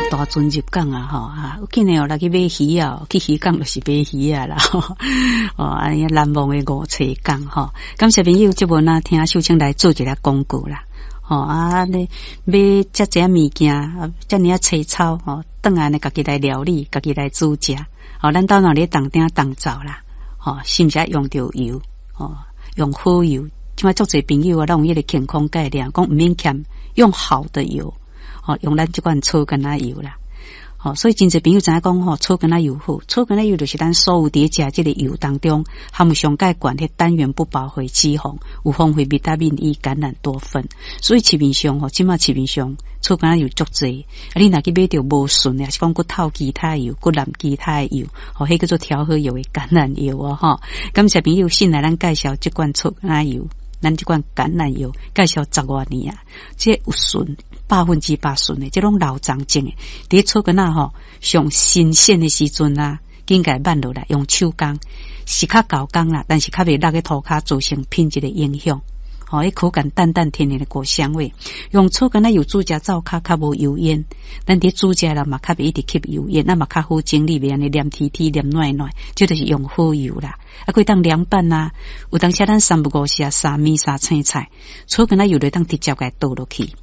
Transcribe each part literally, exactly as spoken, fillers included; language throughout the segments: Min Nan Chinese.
大船入港啊，吼啊，今年哦來去買魚啊，去漁港就是買魚仔啦，哦，按呢難忘的五冊港吼。感謝朋友這陣啊，聽秀清來做一个廣告啦。吼啊，你買遮濟物件，遮爾仔青草吼，轉來呢，家己來料理，家己來煮食。吼，咱兜若咧當鼎當灶啦，吼，是毋是愛用著油？吼，用好油。這擺足濟朋友啊，攏有彼個健康概念，講毋免儉，用好的油，吼，用咱這款草根仔油啦。吼，所以真濟朋友知影講吼，草根仔油好，草根仔油就是咱所有佇咧食這个油當中，含有上蓋懸彼單元不飽和脂肪，有豐富維他命 E、橄欖多酚。所以市面上吼，這擺市面上草根仔油足濟，啊，你若去買著無純的，抑是講閣透其他油，閣淋其他的油，吼，彼叫做調和油的橄欖油哦，吼。感謝朋友信賴咱介紹這款草根仔油。咱這款橄欖油介紹十外年啊，這有純百分之百純的，這攏老欉種的。佇草根仔吼上新鮮的時陣啊，緊共挽落來，用手工是較厚工啦，但是較袂落去塗跤造成品質的影響。吼，彼口感淡淡甜甜的果香味，用草根仔油煮食灶跤較無油煙，咱佇煮食啦嘛較袂一直吸油煙，咱嘛較好整理，袂按呢黏貼貼、黏軟軟，這就是用好油啦。啊，閣會當涼拌啊，有當時咱三不五時啊，撒麵撒青菜，草根仔油就當直接共倒落去，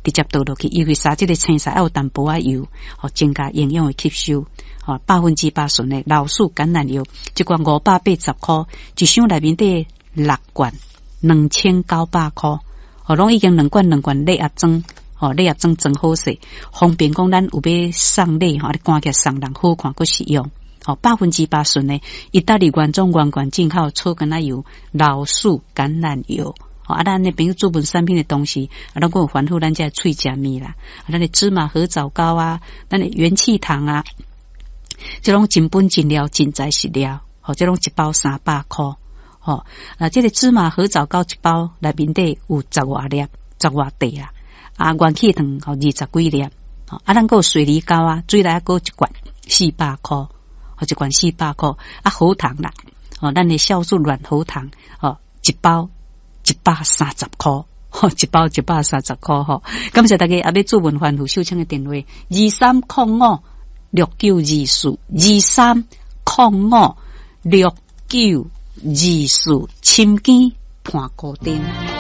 直接倒落去，因為撒這个青菜愛有淡薄仔油，吼，增加營養的吸收。吼，百分之百純的老樹橄欖油，一罐五百八十箍，一箱內面底六罐。兩千九百箍，吼，攏已經兩罐兩罐禮盒裝，吼，禮盒裝裝好勢，方便講咱有欲送禮吼，你趕起來送人好看閣實用，吼，百分之百純的意大利原裝原罐進口草根仔油、老樹橄欖油，吼，啊，咱的朋友做本產品的東西，啊，攏閣有煩惱咱這喙食物啦，啊，咱的芝麻褐藻膏啊，咱的元氣糖啊，這攏真本真料真材實料，吼，這攏一包三百箍。吼，啊，這个芝麻褐藻膏一包內面底有十外粒，十外塊啊，啊，元氣糖吼二十幾粒，啊，咱閣有水梨膏啊，水梨膏一罐四百箍，吼，一罐四百箍，啊，喉糖啦，吼，咱的酵素軟喉糖，吼，一包一百三十箍，吼，一包一百三十箍，吼，感謝大家啊，欲諮問番號秀清的電話二三空五六九二四二三空五六九。二四深更伴孤燈。